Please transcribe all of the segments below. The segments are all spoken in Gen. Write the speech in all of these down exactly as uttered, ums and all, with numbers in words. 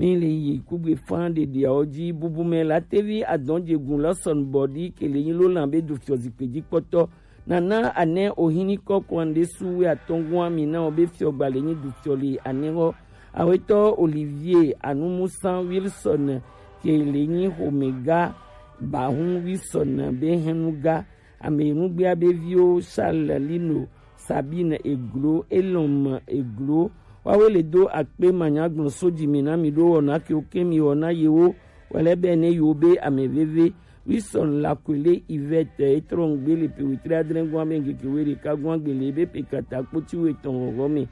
Mi le yi kugbe fan ɖeɖeawo ji. Bubumɛ Latevi Adɔnjegun Lawson Bɔdi ke le nyi lo lan be du fiɔ zikpe ji kpɔtɔ. Nana Anɛ Ohinikɔ Kwandesu we atɔngua mi na wo be fiɔ gba le nyi du fiɔ le anɛ wɔ. Awetɔ Olivier Anumusan Wilson ke le nyi homega Bahun Wilson be hɛnuga. Ame nugbea be viwo Charles Lino, Sabine Eglo, Elon Eglo, wawe le do akpe manyagblɔ so ji mi na mi ɖo wɔna ke wo ke mi wɔna yewo wɛlɛ bɛ ne yewo be ame veve. Wilson Lakwele Yvette etrɔ ŋgbe le pe wetri adre gɔn be ŋkeke we ɖeka gɔn gbe le be pe kata kpoti we tɔn wɔwɔ me.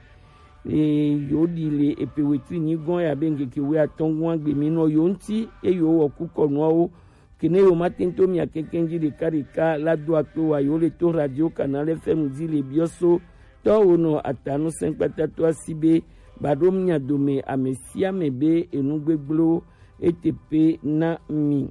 E yo ɖi le epe wetri nyi gɔn ya be ŋkeke we atɔn gɔn gbe mi nɔ yo ŋti e yo wɔ kukɔ nuawo. Kene yo ma tento mia kɛkɛ ji ɖeka ɖeka la do akpe wa yo le to radio Canal F M ji le biɔ so tɔ wo nɔ atanu sɛnkpata to asi be ba ɖo mia dome ame sia ame be enu gbegblẽwo ete pe na mi.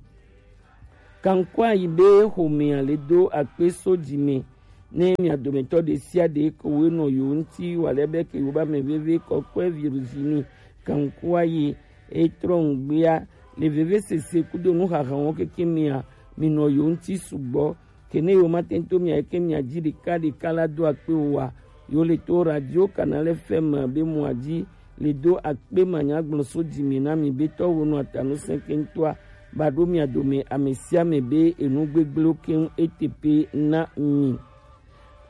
Kankua yi be homea le do akpe so ji me ne mia dometɔ ɖe sia ɖe ko we nɔ yo ŋti wa le be ke yo ba me veve kɔkɔe Virginie Kankua yi etrɔ ŋgbea le veve sese kudo nuxaxawo keke mia mi nɔ yo ŋti sugbɔ. Kene yo ma tento mia ke mia ji ɖeka ɖeka la do akpe wa yo le to radio Canal F M be mua ji le do akpe manyagblɔ so ji mi na mi be tɔ wo nɔ atanu sɛnkɛntɔa ba ɖo mia dome ame sia ame be enu gbegblẽwo keŋ ete pe na mi.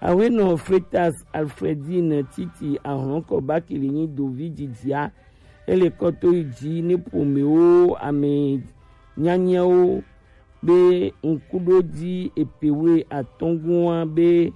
Awenɔ Fretas Alfredine Titi Ahlɔnkɔ Bakili nyi dovi jijia ele kɔto yi ji ne ƒomewo ame nyanyawo be ŋkuɖodzi epewe atɔ̃gua be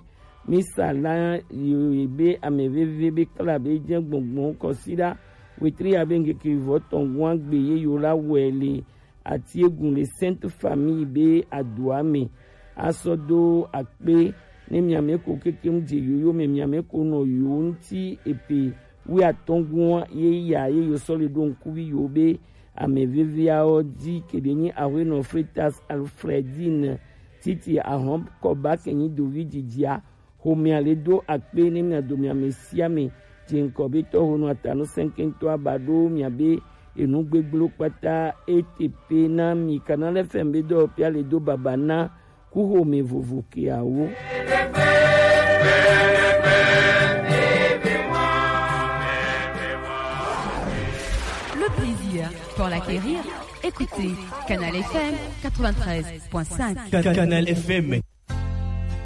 misa la yi be ame veve be kla be dze gbɔngbɔn kɔsiɖa wetri ya be ŋkeke vɔ tɔ̃gua gbe ye yo la wɔe le ati egun le Sainte Famille be adoa me asɔ do akpe ne miame ko kekem dze yoyo me miame ko nɔ yo ŋti epe wi atɔ̃gua ye ya ye yo sɔ le ɖo ŋkuvi yo be ame veveawo dzi keɖe nyi aƒenɔ Fretas Alfredine Titi Ahɔn Kɔba ke nyi dovi dzidzia. Xomea le do akpe ne mia do mia me sia me dze ŋkɔ be tɔho nɔ atanu sɛnkɛntɔ aba ɖo mia be enu gbegblẽwo kpata ete pe na mi. Canal F M be dɔwɔƒea le do baba na kuxome vovo keawo. Le plaisir pour l'acquérir, écoutez Canal F M quatre-vingt-treize point cinq. Canal F M.